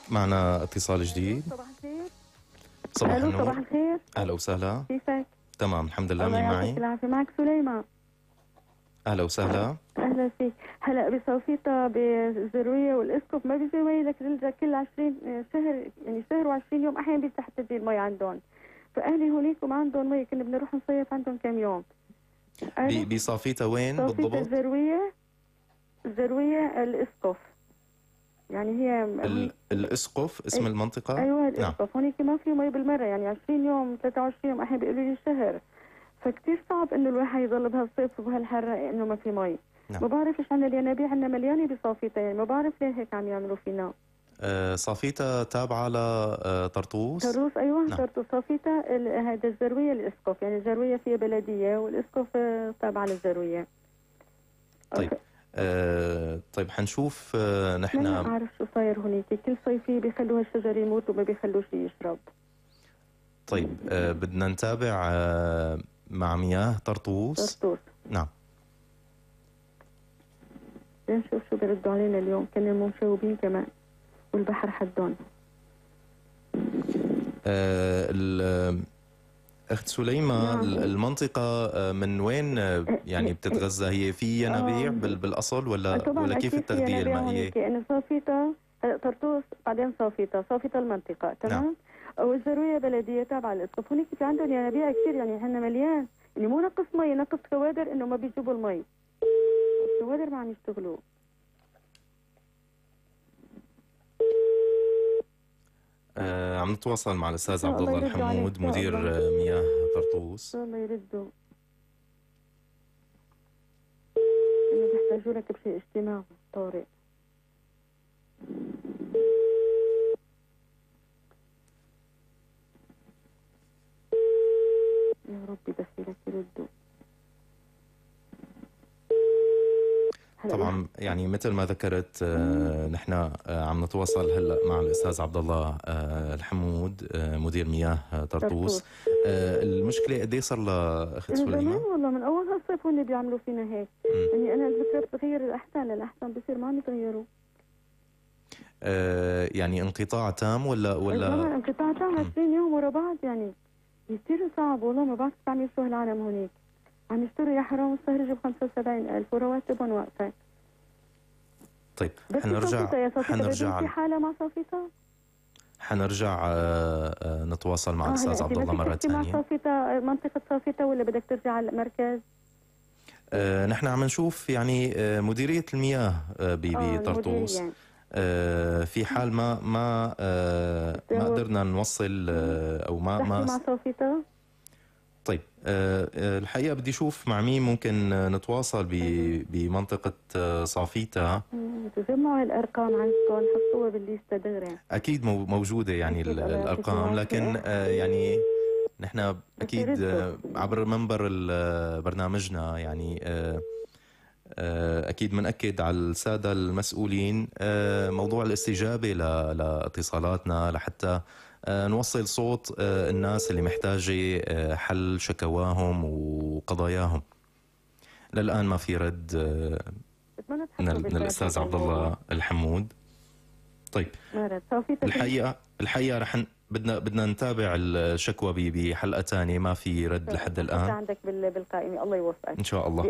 معنا اتصال جديد. صباح الخير. صباح النور. صباح الخير. اهلا وسهلا. كيفك؟ تمام الحمد لله. الله مين معي؟ يعطيك العافية. معك سليمان. اهلا وسهلا. اهلا فيك. هلا بصوفيتا بالزرويه والاسقف ما بيجي مي لك كل 20 شهر، يعني شهر و20 يوم احيانا بيفتح تجي المي عندهم، فاهلي هونيك وما عندهم مي، كنا بدنا نروح نصيف عندهم كم يوم. بصافيتا وين بالضبط؟ صوفيتا الزرويه الاسقف، يعني هي الاسقف اسم المنطقه. ايوه الاسقف. نعم. هونيك ما في مي بالمره، يعني 20 يوم 23 يوم احيانا بيقولوا لي شهر، فكتير صعب انه الواحد يضل بهالصيف وبهالحر انه ما في مي. نعم. ما بعرف ايش عنا الينابيع عنا مليانه بصافيتا، يعني ما بعرف ليه هيك عم يعملوا فينا. صافيتا تابعه لطرطوس؟ طرطوس ايوه. نعم. طرطوس. صافيتا هذا الزرويه الاسقف، يعني الزرويه فيها بلديه والاسقف تابعه للزرويه. طيب طيب حنشوف نحن. ما بعرف شو صاير هونيك، كل صيفيه بيخلوا هالشجر يموت وما بيخلوا شيء يشرب. طيب بدنا نتابع مع مياه طرطوس. نعم. نشوف شو بيردوا علينا اليوم، كنا مشوبين كمان والبحر حدون. اخت سليمة. نعم. المنطقة من وين يعني بتتغذى؟ هي في ينابيع بالاصل ولا كيف التغذية المائية؟ يعني صافيتا طرطوس بعدين صافيتا المنطقة تمام. نعم. والزروية بلدية تابعة للاسقف. هونيك في عندهم ينابيع كثير، يعني احنا مليان، يعني مو نقص مي، نقص كوادر انه ما بيجيبوا المي، الكوادر ما عم يشتغلوا. عم نتواصل مع الاستاذ عبد الله الحمود مدير مياه طرطوس. الله يردوا، انه بيحتاجوا لك بشيء اجتماعي طارئ. يا ربي دخيلك يردوا. طبعا يعني مثل ما ذكرت نحن عم نتواصل هلا مع الاستاذ عبد الله الحمود مدير مياه طرطوس. المشكله قد ايه صار لها اخت سليمان؟ والله من اول هالصيف هن بيعملوا فينا هيك. يعني انا الفكره بتغير للاحسن بصير ما عم يتغيروا. يعني انقطاع تام ولا طبعا انقطاع تام 20 يوم ورا بعض، يعني كثير صعب والله. ما بعرف كيف عم يشتغل العالم هونيك، عم يشتروا يا حرام الصهرجة ب75,000 ورواتبهم واقفة. طيب حنرجع في حالة مع صافيتا. حنرجع نتواصل مع الاستاذ عبد الله مرة ثانية. مع صافيتا منطقة صافيتا ولا بدك ترجع على المركز؟ نحن عم نشوف يعني مديرية المياه بطرطوس. يعني. في حال ما قدرنا نوصل او ما مع صافيتا. طيب الحقيقة بدي أشوف مع مين ممكن نتواصل بمنطقة صافيتا. تجمعوا الأرقام عندكم حطوها بالليستة دغري. أكيد موجودة يعني الأرقام، لكن يعني نحن أكيد عبر منبر برنامجنا يعني أكيد منأكد على السادة المسؤولين موضوع الاستجابة لاتصالاتنا لحتى نوصل صوت الناس اللي محتاجة حل شكواهم وقضاياهم. للآن ما في رد من الأستاذ عبد الله الحمود. طيب الحقيقة رح بدنا نتابع الشكوى بحلقة ثانية، ما في رد لحد الآن. عندك بالقائمة. الله يوفقك إن شاء الله.